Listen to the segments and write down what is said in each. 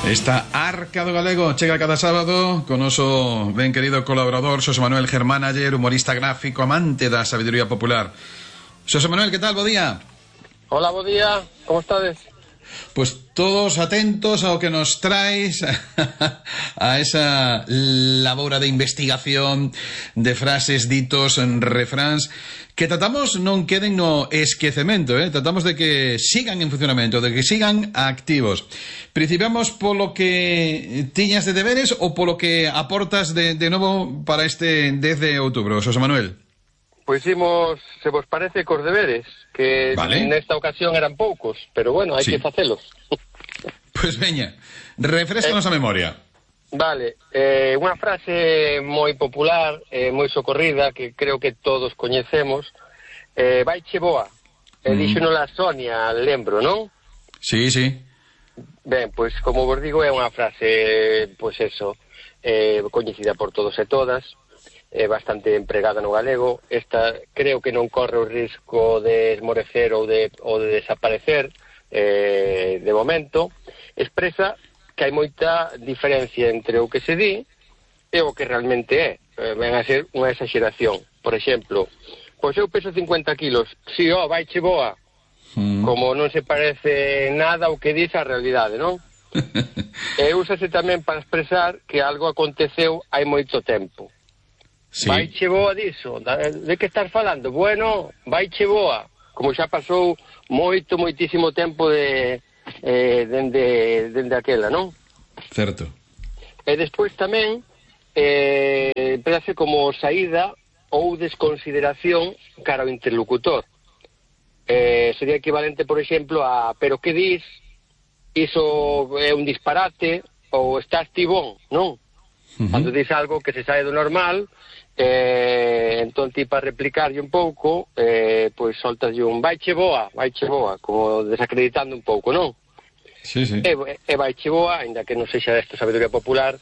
Esta Arca do Galego chega cada sábado con noso ben querido colaborador Xosé Manuel Germánayer, humorista gráfico, amante da sabiduría popular. Xosé Manuel, que tal? Bo día. Hola, bo día. Como estades? Pues todos atentos ao que nos traes a esa labora de investigación de frases, ditos, refráns que tratamos non queden no esquecemento, tratamos de que sigan en funcionamento, de que sigan activos. Principiamos polo que tiñas de deberes ou polo que aportas de novo para este 10 de outubro, Xosé Manuel? Pois imos, se vos parece, cos deberes, que vale. Nesta ocasión eran poucos, pero bueno, hai que facelos. Pois veña, refrescanos a memoria. Vale, unha frase moi popular, moi socorrida, que creo que todos coñecemos, vaiche boa, díxonola Sonia, lembro, non? Sí, sí. Ben, pois como vos digo, é unha frase, pois eso, coñecida por todos e todas, bastante empregada no galego. Esta creo que non corre o risco de esmorecer ou de desaparecer de momento. Expresa que hai moita diferencia entre o que se di e o que realmente é. Ven a ser unha exageración. Por exemplo, pois eu peso 50 kilos, si, vaiche boa, como non se parece nada ao que diz a realidade, non? E úsase tamén para expresar que algo aconteceu hai moito tempo. Sí. Vaiche boa diso, de que estás falando? Bueno, vaiche boa, como xa pasou moitísimo tempo dende aquela, non? Certo. E despois tamén empezase como saída ou desconsideración cara ao interlocutor. Sería equivalente, por exemplo, a pero que dis, iso é un disparate, ou estás tibón, non? Cando dis algo que se sae do normal, entón ti para replicarlle un pouco, pois soltaslle un vaiche boa, como desacreditando un pouco, non? Sí, sí. E vaiche boa, ainda que non sexa desta sabiduría popular,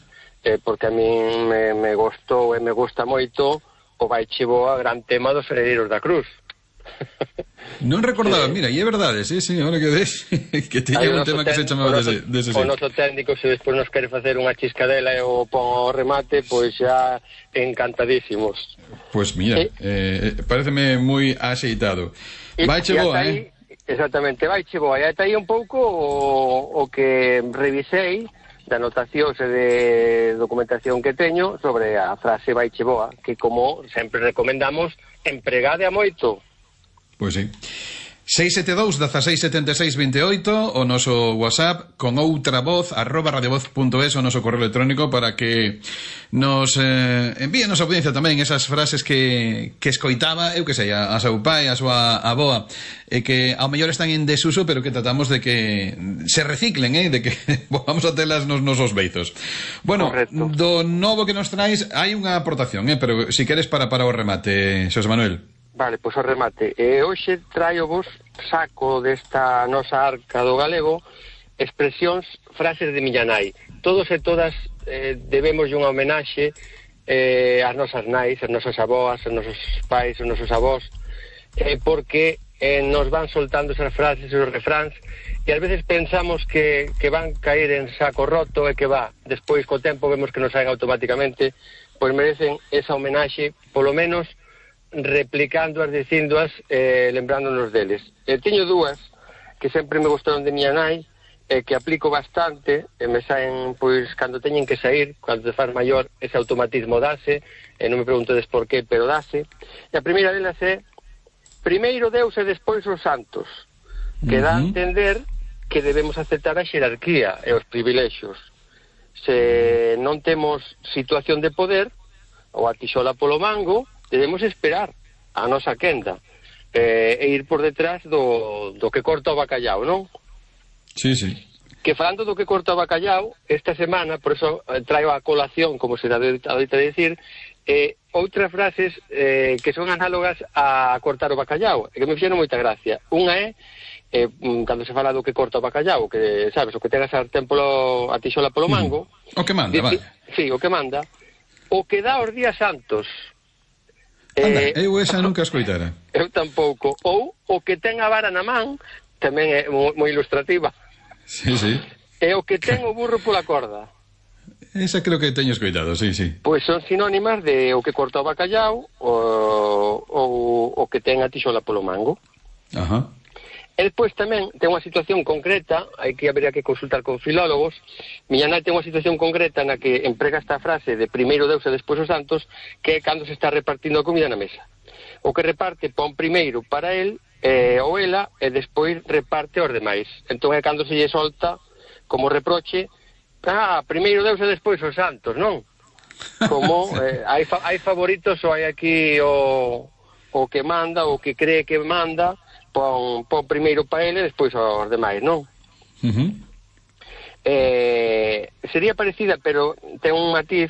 porque a min me gostou e me gusta moito o vaiche boa, gran tema dos Heredeiros da Cruz. Non recordaba, mira, e é verdade, sí, ahora que ves que tiña un tema que se chamaba dese o noso técnico, se despois nos quere facer unha chiscadela e o pon ao remate, pois xa encantadísimos. Pois mira, pareceme moi axeitado. Vaiche boa, Exactamente, vaiche boa. E ata aí un pouco o que revisei de anotacións e de documentación que teño sobre a frase vaiche boa, que como sempre recomendamos, empregade a moito. Pois sí. 672 16 76 28 o noso WhatsApp con outra voz @radiovoz.es o noso correo electrónico para que nos envíen a nosa audiencia tamén esas frases que escoitaba, eu que sei, a seu pai, a súa avoa, e que ao mellor están en desuso, pero que tratamos de que se reciclen, de que vamos a telas nos nosos beizos. Bueno, correcto. Do novo que nos traes hai unha aportación, pero si queres para o remate, Xosé Manuel. Vale, pois o remate. Hoxe traio-vos, saco desta nosa Arca do Galego, expresións, frases de miña nai. Todos e todas debemos unha homenaxe ás nosas nais, ás nosas aboas, aos nosos pais, aos nosos avós, porque nos van soltando esas frases, esos refráns, e ás veces pensamos que van caer en saco roto e que despois co tempo vemos que nos saen automáticamente, pois merecen esa homenaxe, polo menos replicándoas, dicíndoas, lembrándonos deles. Teño dúas que sempre me gustaron de miña nai, que aplico bastante, me saen, pois, cando teñen que sair, cando te faz maior, ese automatismo dase, non me preguntedes por qué, pero dase. E a primeira delas é primeiro Deus e despois os santos, que dá a entender que debemos aceptar a xerarquía e os privilexios. Se non temos situación de poder, ou a tixola polo mango, debemos esperar a nosa quenda e ir por detrás do que corta o bacallau, non? Sí, sí. Que falando do que corta o bacallau, esta semana, por eso traio a colación, como se adoita dicir, outras frases que son análogas a cortar o bacallau, que me fixeron moita gracia. Unha é, cando se fala do que corta o bacallau, que, sabes, o que ten a sartén a tixola polo mango. O que manda, vale. Sí, o que manda. O que dá os días santos. Anda, eu esa nunca escoitara. Eu tampouco. Ou o que ten a vara na man, tamén é moi ilustrativa. Sí, sí. É o que ten o burro pola corda. Esa creo que teño escoitado, sí. Pois son sinónimas de o que corta o bacallau ou o que ten a tixola polo mango. Ajá. E despois tamén ten unha situación concreta, habería que consultar con filólogos. Miña nai ten unha situación concreta na que emprega esta frase de primeiro Deus e despois os santos, que é cando se está repartindo a comida na mesa. O que reparte pon primeiro para el ou ela e despois reparte aos demais. Entón é cando se lle solta como reproche: primeiro Deus e despois os santos, non? Como hai favoritos ou hai aquí o que manda, o que cree que manda, pon primeiro para ele e despois aos demais, non? Sería parecida, pero ten un matiz: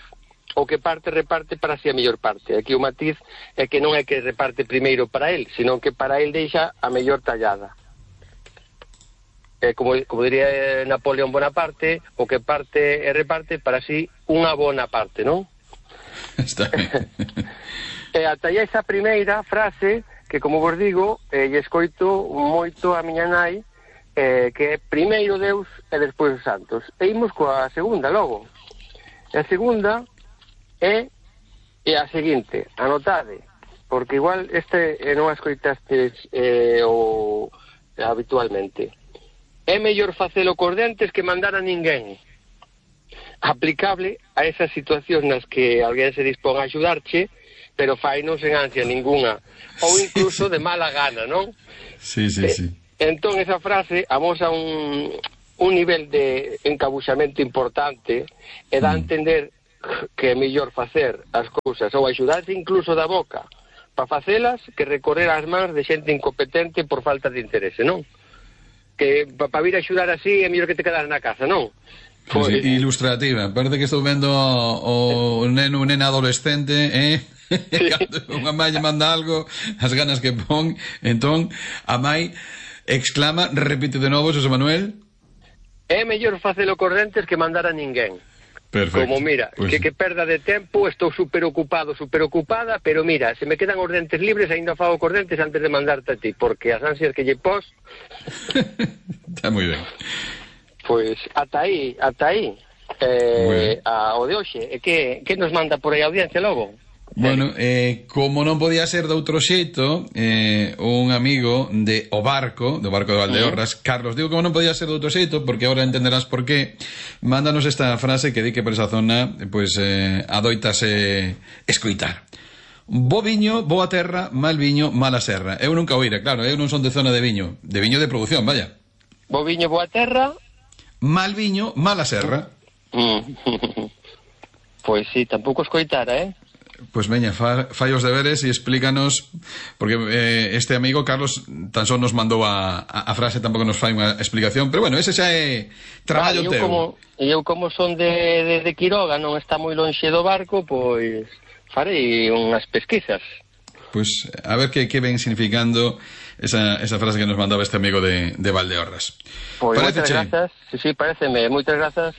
o que reparte para si a mellor parte. Aquí o matiz é que non é que reparte primeiro para el, senón que para el deixa a mellor tallada. Como diría Napoleón Bonaparte, o que parte e reparte para si unha bona parte, non? Está ben. E ata aí esa primeira frase que, como vos digo, lle escoito moito a miña nai, que é primeiro Deus e despois os santos. E imos coa segunda logo. E a segunda é a seguinte, anotade, porque igual non a escoitastes habitualmente. É mellor facelo cos dentes que mandar a ninguén. Aplicable a esas situacións nas que alguén se dispón a axudarche, pero fainos en ansia ninguna, ou incluso de mala gana, non? Sí. Entón esa frase amosa un nivel de encabuxamento importante e dá a entender que é mellor facer as cousas ou axudarse incluso da boca para facelas que recorrer ás mans de xente incompetente por falta de interese, non? Que para vir a axudar así é mellor que te quedas na casa, non? Pues, ilustrativa, parece que estou vendo o neno, nena adolescente, cando unha mãe manda algo, as ganas que pon, entón a mãe exclama, repite de novo, Xosé Manuel: é mellor facelo cos dentes que mandar a ninguén. Perfecto. Como mira, pues que perda de tempo, estou super ocupada, pero mira, se me quedan os dentes libres, ainda fago cos dentes antes de mandarte a ti, porque as ansias que lle pos... Está moi ben. Pois ata aí o de hoxe. E que nos manda por aí a audiencia logo? Bueno, como non podía ser de outro xeito, un amigo de O Barco, do Barco de Valdeorras, Carlos, digo como non podía ser de outro xeito, porque agora entenderás por qué, mándanos esta frase que di que por esa zona, pois, adoitase escoitar: bo viño, boa terra, mal viño, mala serra. Eu nunca oíra, claro, eu non son de zona de viño de producción, vaya. Bo viño, boa terra, mal viño, mala serra. Pois sí, tampouco escoitara, Pois veña, fai os deberes e explícanos, porque este amigo Carlos tan só nos mandou a frase, tampouco nos fai unha explicación, pero bueno, ese xa é traballo teu. Eu como son de Quiroga, non está moi lonxe do Barco, pois farei unhas pesquisas. Pois a ver que ven significando esa frase que nos mandaba este amigo de Valdeorras. Pois moitas grazas, sí, pareceme, moitas grazas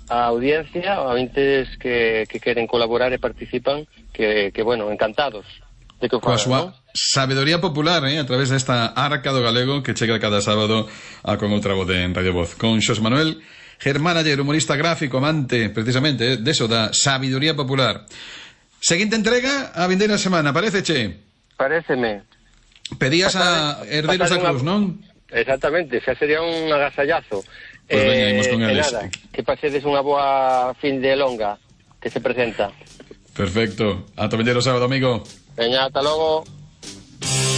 a audiencia, a vintes que queren colaborar e participan, que bueno, encantados de que o fagan, súa sabedoría popular, a través desta Arca do Galego que chega cada sábado con outra voz en Radio Voz, con Xosé Manuel Germán Ayer, humorista gráfico, amante precisamente deso da sabiduría popular. Seguinte entrega a vindeira semana, pareceche? Pareceme. Pedías a herdeiros da Cruz, non? Exactamente, xa sería un agasallazo. Pois veña, imos con eles. Nada, que pasedes unha boa fin de longa que se presenta. Perfecto. Ata vindeiro sábado, amigo. Veña, ata logo.